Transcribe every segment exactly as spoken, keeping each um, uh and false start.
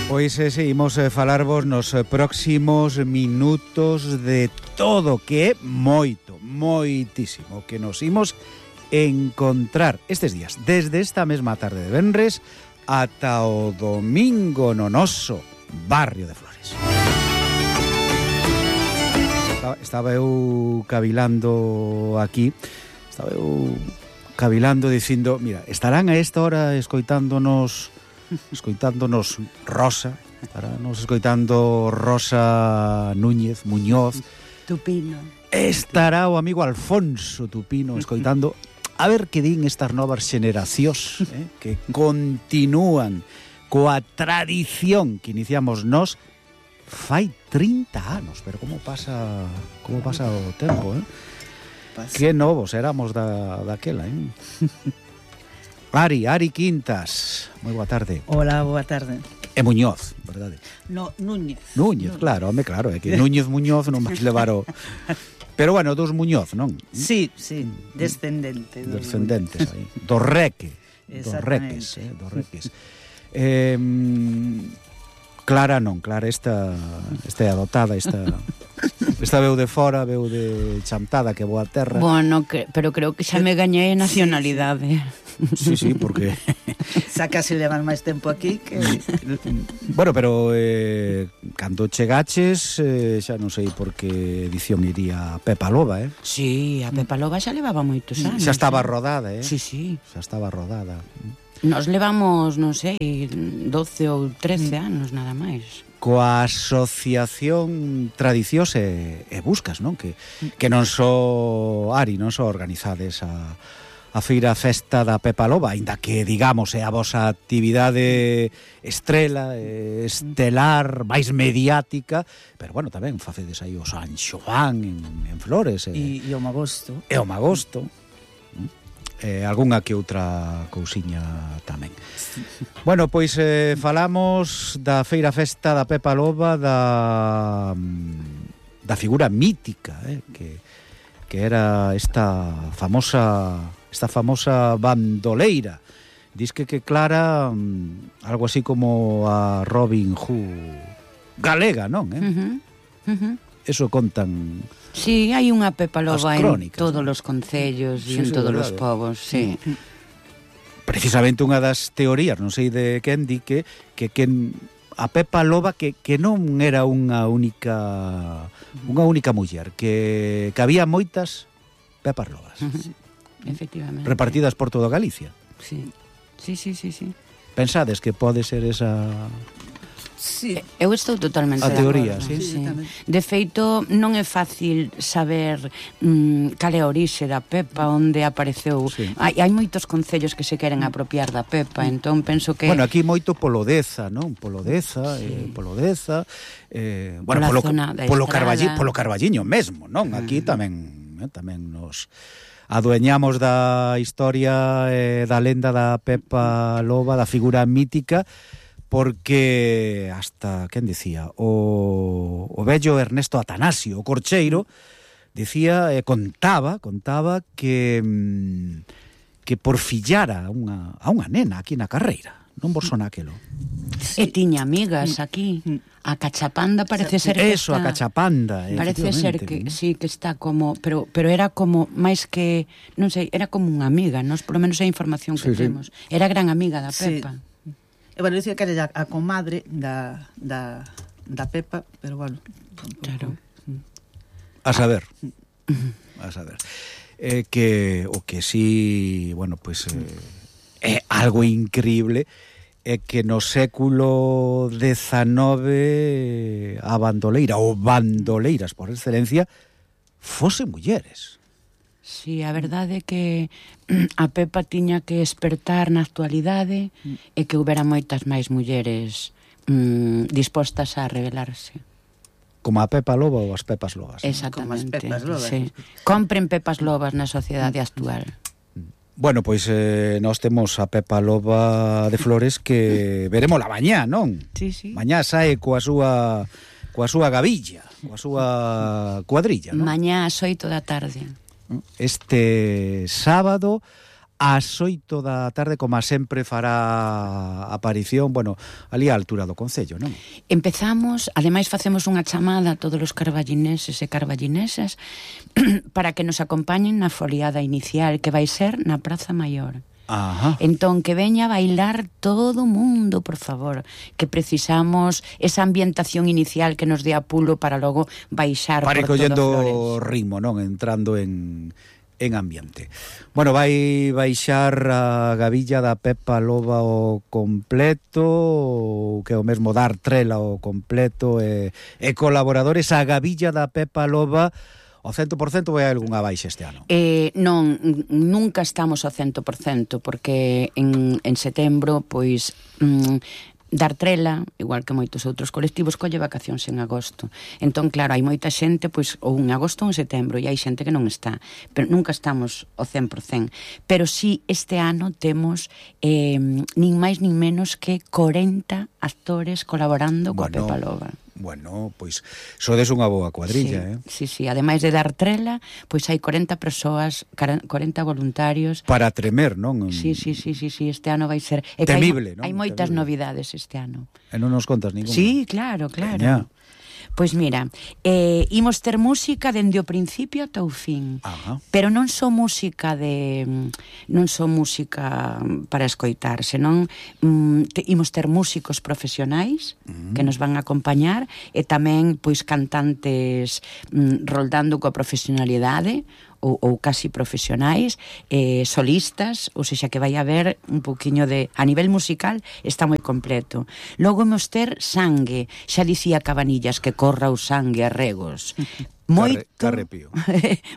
Pois eh, seguimos a eh, falarvos nos eh, próximos minutos de todo, que é moito, moitísimo, que nos imos encontrar estes días, desde esta mesma tarde de venres ata o domingo no noso barrio de Flores. Estaba, estaba eu cavilando aquí, estaba eu cavilando dicindo, mira, estarán a esta hora escoitándonos escoitándonos Rosa, estaránnos escoitando Rosa Núñez, Muñoz, Tupino. Estará o amigo Alfonso Tupino escoitando a ver que din estas novas xeneracións, eh, que continúan coa tradición que iniciamos nós fai trinta anos, pero como pasa como pasa o tempo, eh? Pasa. Que novos éramos da daquela, eh? Ari, Ari Quintas, moi boa tarde. Hola, boa tarde. E Muñoz, verdade? No, Núñez. Núñez, Núñez. Claro, home, claro, é que Núñez Muñoz non vais levar o... Pero bueno, dos Muñoz, non? Sí, sí, descendente. Descendentes aí. Do Reque. Do Reques, eh, do Reques. Eh, Clara non, Clara esta esta é adotada, esta esta veu de fora, veu de Chantada, que boa terra. Bueno, que, pero creo que xa me gañei nacionalidade. Sí, sí, porque xa casi levan máis tempo aquí que... Bueno, pero eh, cando chegaches eh, xa non sei por que edición iría Pepa Loba, eh? Sí, a Pepa Loba xa levaba moitos anos. Xa estaba rodada, eh? Sí, sí. Xa estaba rodada. Nos levamos, non sei, doce ou trece anos, nada máis. Coa asociación Tradicións e, e Buscas, non? Que, que non só Ari, non só organizades a, a feira festa da Pepa Loba, aínda que, digamos, é a vosa actividade estrela, estelar, máis mediática, pero, bueno, tamén facedes aí o San Xoán en, en Flores. E, e o Magosto. E o Magosto. Eh, algunha que outra cousiña tamén. Bueno, pois eh, falamos da feira festa da Pepa Loba, da da figura mítica, eh, que que era esta famosa esta famosa bandoleira. Diz que que Clara um, algo así como a Robin Hood galega, non, eh? Uh-huh. Uh-huh. Eso contan. Sí, hai unha Pepa Loba en todos ¿no? os concellos sí, e en sí, todos verdade. os povos, sí. Precisamente unha das teorías, non sei de quen, di que, que, que a Pepa Loba que, que non era unha única unha única muller, que, que había moitas Pepas Lobas. Uh-huh. Efectivamente. Repartidas por toda Galicia. Sí, sí, sí, sí, sí. Pensades que pode ser esa... Sí. Eu estou totalmente a de teoría, acordo, sí. sí. De feito, non é fácil saber mm, cal é a orixe da Pepa, onde apareceu. Sí. Hai, hai moitos concellos que se queren apropiar da Pepa, entón penso que... Bueno, aquí moito polo Deza, non? Polo Deza, sí. eh, polo Deza, eh, bueno, polo, polo, Carballi, polo Carballiño mesmo, non? Aquí uh-huh. tamén, eh, tamén nos adueñamos da historia eh, da lenda da Pepa Loba, da figura mítica, porque hasta, quen dicía, o, o vello Ernesto Atanasio, o Corcheiro, dicía, eh, contaba, contaba que que por fillara a unha, a unha nena aquí na carreira, non vos sona aquelo. Sí. E tiña amigas aquí. A Cachapanda parece ser que Eso, está, a Cachapanda, parece ser que sí, que está como, pero pero era como máis que, non sei, era como unha amiga, nós por lo menos a información que sí, temos. Sí. Era gran amiga da Pepa. Sí. E bueno, dicía que era a comadre da, da, da Pepa, pero bueno. Claro. A saber. A saber. Eh, que o que sí, bueno, pues é eh, algo increíble é que no século dezanove a bandoleira, ou bandoleiras por excelencia, fosen mulleres. Sí, a verdade é que a Pepa tiña que despertar na actualidade e que houbera moitas máis mulleres mm, dispostas a rebelarse. Como a Pepa Loba ou as Pepas Lobas. Exactamente. Como as Pepas Lobas. Sí. Compren Pepas Lobas na sociedade actual. Bueno, pois eh, nós temos a Pepa Loba de Flores que veremos la mañá, non? Sí, sí. Mañá sae coa súa coa súa gavilla, coa súa cuadrilla, non? Mañá ás oito da tarde. Este sábado ás oito da tarde, como sempre fará aparición, bueno, ali á altura do Concello, non? Empezamos, ademais facemos unha chamada a todos os carballineses e carballinesas para que nos acompañen na foliada inicial, que vai ser na Praza Maior. Ajá. Entón, que veña a bailar todo o mundo, por favor, que precisamos esa ambientación inicial que nos dé apulo para logo baixar para por todo collendo Flores. ritmo, non? Entrando en... en ambiente. Bueno, vai baixar a gavilla da Pepa Loba o completo, o que é o mesmo dar trela o completo, e, e colaboradores. A gavilla da Pepa Loba o cento por cento vai a algunha baixa este ano? Eh, non, nunca estamos ao cento por cento, porque en, en setembro, pois... Mm, Dar Trela, igual que moitos outros colectivos, colle vacacións en agosto. Entón, claro, hai moita xente, pois, ou en agosto ou en setembro, e hai xente que non está. Pero nunca estamos ao cen por cento. Pero sí, este ano temos eh, nin máis nin menos que corenta actores colaborando coa Bueno, Pepa Loba. Bueno, pois sodes unha boa cuadrilla, sí, eh? Sí, sí, ademais de Dar Trela, pois hai corenta persoas, corenta voluntarios. Para tremer, non? Sí, sí, sí, sí, sí, este ano vai ser... É temible, hai, non? Hai moitas Temible. novidades este ano. E non nos contas ninguna? Sí, claro, claro. Veña. Pois mira, eh, imos ter música dende o principio ata o fin. Ajá. Pero non só música de non só música para escoitar, senón mm, te, imos ter músicos profesionais uh-huh. que nos van a acompañar, e tamén pois cantantes mm, roldando coa profesionalidade, ou, ou casi profesionais, eh, solistas, ou seja, que vai haber un poquinho de... A nivel musical está moi completo. Logo imos ter sangue, xa dicía Cabanillas, que corra o sangue a regos. Moito, Carrepío.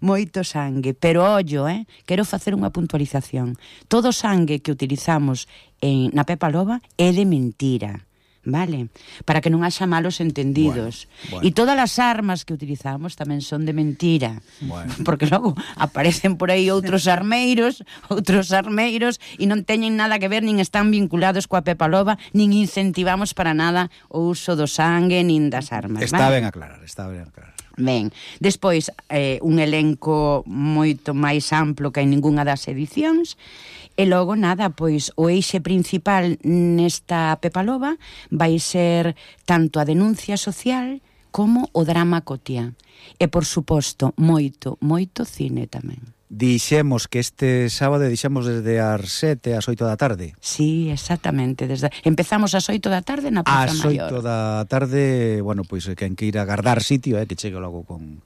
moito sangue, pero ollo, eh, quero facer unha puntualización. Todo o sangue que utilizamos en, na Pepa Loba é de mentira. Vale, para que non haxa malos entendidos. Bueno, bueno. E todas as armas que utilizamos tamén son de mentira. Bueno. Porque logo aparecen por aí outros armeiros, outros armeiros, e non teñen nada que ver, nin están vinculados coa Pepa Loba, nin incentivamos para nada o uso do sangue, nin das armas. Está vale? ben aclarar, está ben aclarar. Ben, despois eh, un elenco moito máis amplo que en ningunha das edicións. E logo, nada, pois o eixe principal nesta Pepa Loba vai ser tanto a denuncia social como o drama cotiá. E, por suposto, moito, moito cine tamén. Dixemos que este sábado dixemos desde as sete ás oito da tarde. Sí, exactamente. Desde... Empezamos ás oito da tarde na Praza Maior. Ás oito da tarde, bueno, pois quen que ir a agardar sitio, eh, que chegue logo con,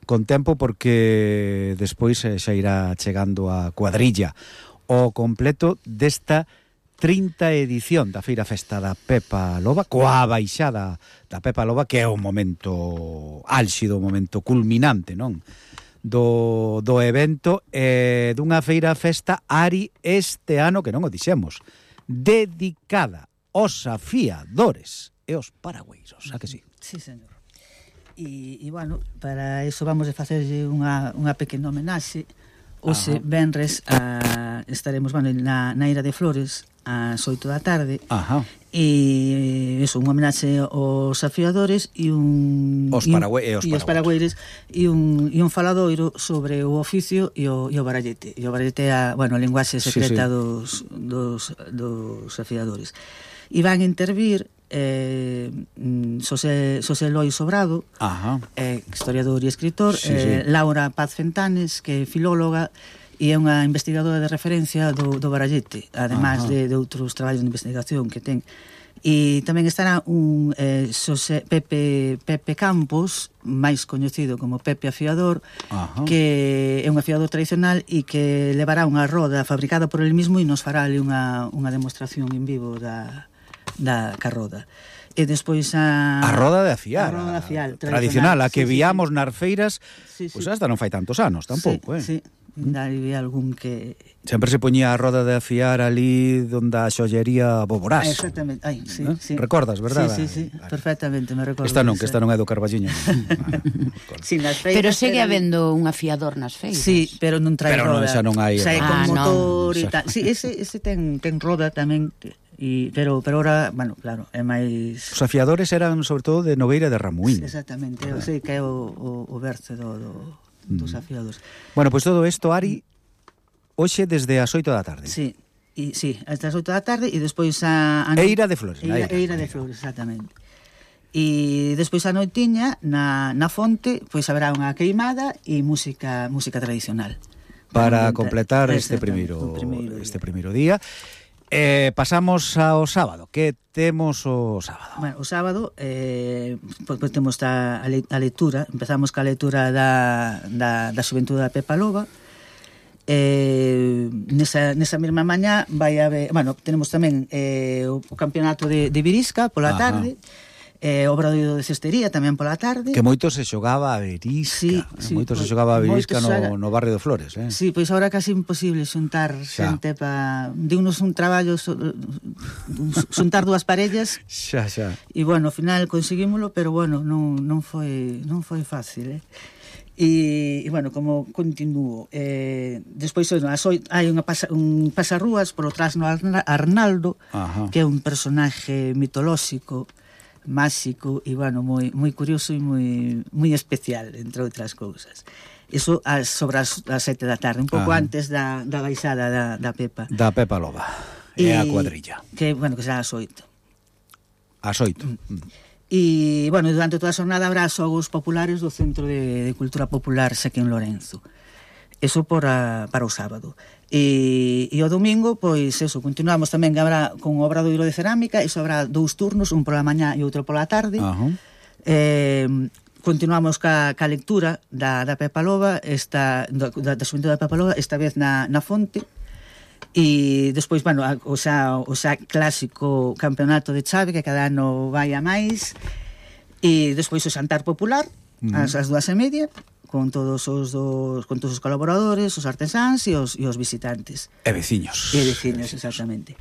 con tempo, porque despois eh, xa irá chegando a cuadrilla o completo desta trinta edición da Feira Festa da Pepa Loba, coa baixada da Pepa Loba, que é o momento álxido, o momento culminante, non? Do, do evento, eh, dunha Feira Festa Ari este ano, que non o dixemos, dedicada aos afiadores e aos paragüeiros, a que sí? Sí, señor. E, e bueno, para iso vamos a facerlle unha, unha pequena homenaxe. Hoxe, venres, a, estaremos bueno, na, na Ira de Flores ás oito da tarde. Ajá. E iso, unha homenaxe aos afiadores e un os paragüe, e os, e os paragüeires e un, e un faladoiro sobre o oficio e o, e o barallete. E o barallete é a, bueno, a linguaxe secreta sí, sí. Dos, dos, dos afiadores. E van intervir eh, Xosé, Xosé Loi Sobrado, Ajá. Eh, historiador e escritor, sí, eh, sí. Laura Paz Fentanes, que é filóloga e é unha investigadora de referencia do, do barallete, ademais de, de outros traballos de investigación que ten. E tamén estará un eh, Xosé, Pepe, Pepe Campos, máis coñecido como Pepe Afiador, Ajá. que é un afiador tradicional e que levará unha roda fabricada por el mismo e nos fará ali unha, unha demostración en vivo da da carroda. E despois a... A roda de afiar. A roda de afiar. Tradicional, a que sí, viamos sí, nas feiras, sí, sí. Pois hasta non fai tantos anos, tampouco, sí, eh? Sí, daí algún que... Sempre se poñía a roda de afiar ali donde a xollería Boborás. Ah, exactamente, ai, sí, ¿Eh? sí. Recordas, verdad? Sí, sí, sí, vale. Perfectamente, me recordo. Esta non, que esta non é do Carballiño. Sí, nas feiras, pero segue eran... habendo un afiador nas feiras. Sí, pero non trae pero roda. Pero non, xa non hai... Xa é con ah, motor non. e tal. Sí, ese, ese ten, ten roda tamén... Y, pero pero ahora, bueno, claro, é máis... Os afiadores eran sobre todo de Nogueira de Ramuín. Sí, exactamente, eu sei que é o, o, o berce do, do, dos afiados. Bueno, pois pues todo isto, Ari, hoxe desde as oito da tarde. Sí, e, sí, hasta as oito da tarde e despois a... a Eira de Flores. Eira, Eira de Flores, exactamente. E despois a noitiña na, na fonte pois haberá unha queimada e música música tradicional para completar este primeiro este primeiro día. Eh, pasamos ao sábado. Que temos o sábado? Bueno, o sábado eh, pois, pois temos a, a lectura. Empezamos ca lectura da, da, da Xuventude da Pepa Loba. Eh, nesa, nesa mesma mañá vai haber, bueno, tenemos tamén eh, o, o campeonato de, de Virisca pola Ajá. tarde, eh, obradoiro de cestería tamén pola tarde. Que moito se xogaba a Virisca, sí, sí, moito se xogaba a Virisca no, xoga... no barrio de Flores, eh? Sí, pois agora casi imposible xuntar xente pa... Diunos un traballo so... xuntar dúas parellas. Xa, xa. E bueno, ao final conseguímoslo, pero bueno, non, non foi non foi fácil, eh? E, e bueno, como continuo eh, despois hai unha pasa, un pasarrúas polo trasno Arnaldo, Ajá. que é un personaje mitolóxico, máxico e bueno, moi moi curioso e moi moi especial, entre outras cousas. Iso as sobre as, as sete da tarde, un pouco ah. antes da, da baixada da, da Pepa. Da Pepa Loba. E a cuadrilla. Que, bueno, que será as oito. As oito. Mm. E, bueno, durante toda a xornada habrá xogos populares do Centro de, de Cultura Popular Sequén Lorenzo. Eso por a, para o sábado. E, e o domingo, pois, eso, continuamos tamén que habrá con o obradoiro de cerámica, iso habrá dous turnos, un pola mañá e outro pola tarde. Uh-huh. Eh, continuamos ca, ca lectura da, da Pepa Loba, esta, da, da Xuventude da Pepa Loba, esta vez na, na fonte. E despois, bueno, o xa, o xa clásico campeonato de chave, que cada ano vai a máis. E despois o xantar popular, uh-huh. as, as dúas e media, con todos os dos, con todos os colaboradores, os artesáns e os, e os visitantes. E veciños. E veciños, exactamente.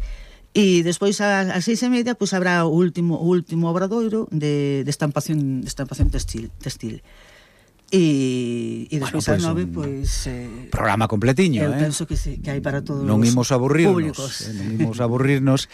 E despois ás seis e media pois habrá o último o último obradoiro de, de estampación de estampación textil, textil. E, e despois bueno, ás nove pois eh, programa completiño, eu eh. penso que sí, que hai para todos non imos aburrirnos, públicos. Eh, non imos aburrirnos.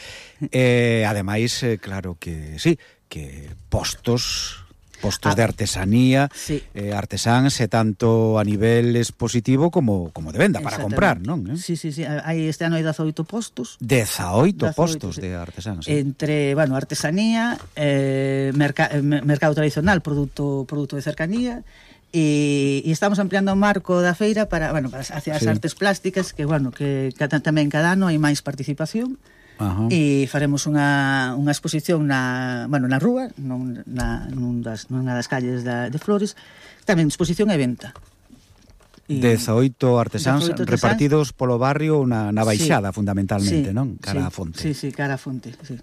eh, ademais, eh, claro que sí, que postos postos ah, de artesanía, sí. eh, artesáns, e tanto a nivel expositivo como, como de venda para comprar, non? Eh? Sí, sí, sí, hai este ano hai dezaoito postos. dezaoito postos sí. de artesáns. Sí. Entre, bueno, artesanía, eh, merca, eh, mercado tradicional, produto, produto de cercanía, e, e estamos ampliando o marco da feira para, bueno, para hacia as sí. artes plásticas, que, bueno, que, que tamén cada ano hai máis participación. Ajá. E faremos unha, unha exposición na, bueno, na rúa, non, na, nun das, nunha das calles da, de Flores, tamén exposición e venta. E dezaoito artesáns repartidos polo barrio na, na baixada, sí. fundamentalmente, sí, non? Cara sí, a fonte. Sí, sí, cara a fonte, sí.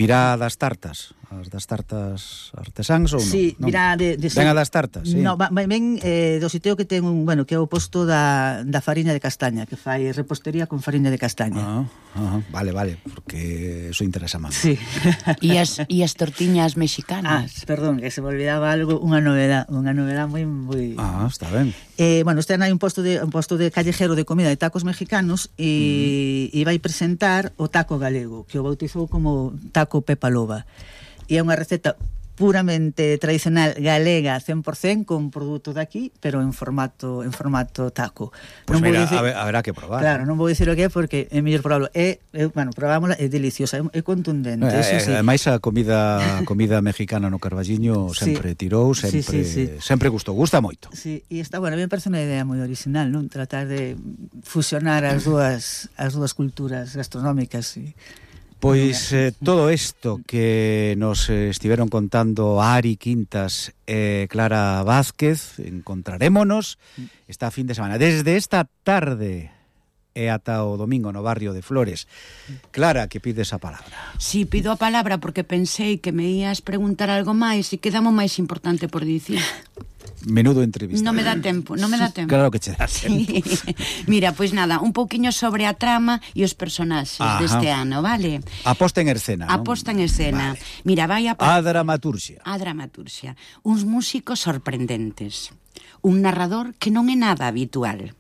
Virá das tartas, as das tartas artesáns ou non? Sí, non? virá de, de Ven a das tartas, sí. No, ven eh, do sitio que ten un, bueno, que é o posto da, da fariña de castaña, que fai repostería con fariña de castaña. Ah, ah, vale, vale, porque eso interesa máis. Sí. E as, e as tortiñas mexicanas. Ah, perdón, que se me olvidaba algo, unha novedad, unha novedad moi moi. Ah, está ben. Eh, bueno, este ano hai un posto de un posto de callejero de comida de tacos mexicanos e, mm. e vai presentar o taco galego, que o bautizou como taco Pepa Loba. E é unha receta puramente tradicional galega cen por cento con produto daqui, pero en formato en formato taco. Pois pues mira, decir, haberá que probar. Claro, non vou dicir o que é porque é mellor probarlo. É, é bueno, probámola, é deliciosa, é, é contundente, eh, eso sí. Ademais a comida comida mexicana no Carballiño sempre sí. tirou, sempre sí, sí, sí. sempre gustou, gusta moito. Sí, e está, bueno, a mí me parece unha idea moi original, non? Tratar de fusionar as dúas as dúas culturas gastronómicas e Pois eh, todo isto que nos eh, estiveron contando Ari Quintas e eh, Clara Vázquez, encontrarémonos esta fin de semana. Desde esta tarde e ata o domingo no barrio de Flores. Clara, que pides a palabra. Sí, pido a palabra porque pensei que me ías preguntar algo máis e quedamos máis importante por dicir. Menudo entrevista. Non me dá tempo, non me dá tempo. Claro que che dá tempo. Sí. Mira, pois pues nada, un pouquiño sobre a trama e os personaxes Ajá. deste ano, vale? A posta en escena, A posta en escena. Vale. Mira, vai a... A dramaturxia. A dramaturxia. Uns músicos sorprendentes. Un narrador que non é nada habitual.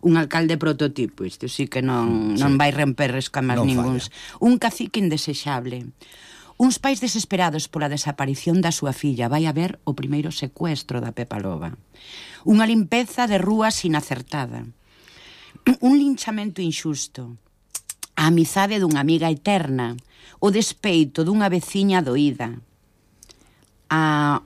Un alcalde prototipo, isto sí que non, sí. non vai romper escamas non ninguns. Falla. Un cacique indesexable. Uns pais desesperados pola desaparición da súa filla. Vai haber o primeiro secuestro da Pepa Loba. Unha limpeza de rúas inacertada. un linchamento inxusto, a amizade dunha amiga eterna, o despeito dunha veciña doída, a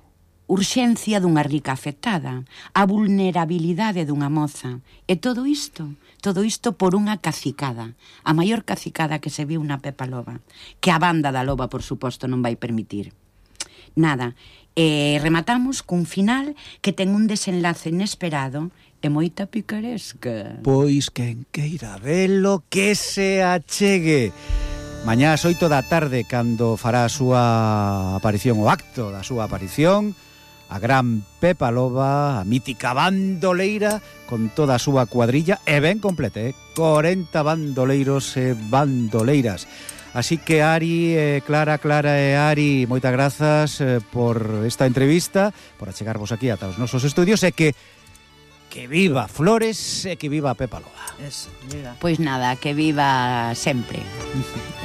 urxencia dunha rica afectada, a vulnerabilidade dunha moza, e todo isto, todo isto por unha cacicada, a maior cacicada que se viu na Pepa Loba, que a banda da Loba, por suposto, non vai permitir. Nada, e rematamos cun final que ten un desenlace inesperado e moita picaresca. Pois quen queira velo, que se achegue. Mañá ás oito da tarde, cando fará a súa aparición, o acto da súa aparición, a gran Pepa Loba, a mítica bandoleira, con toda a súa cuadrilla, e ben completa, eh? corenta bandoleiros e bandoleiras. Así que Ari, eh, Clara, Clara e Ari, moitas grazas eh, por esta entrevista, por achegarvos aquí ata os nosos estudios, e que que viva Flores e que viva Pepa Loba. Eso, viva. Pois nada, que viva sempre.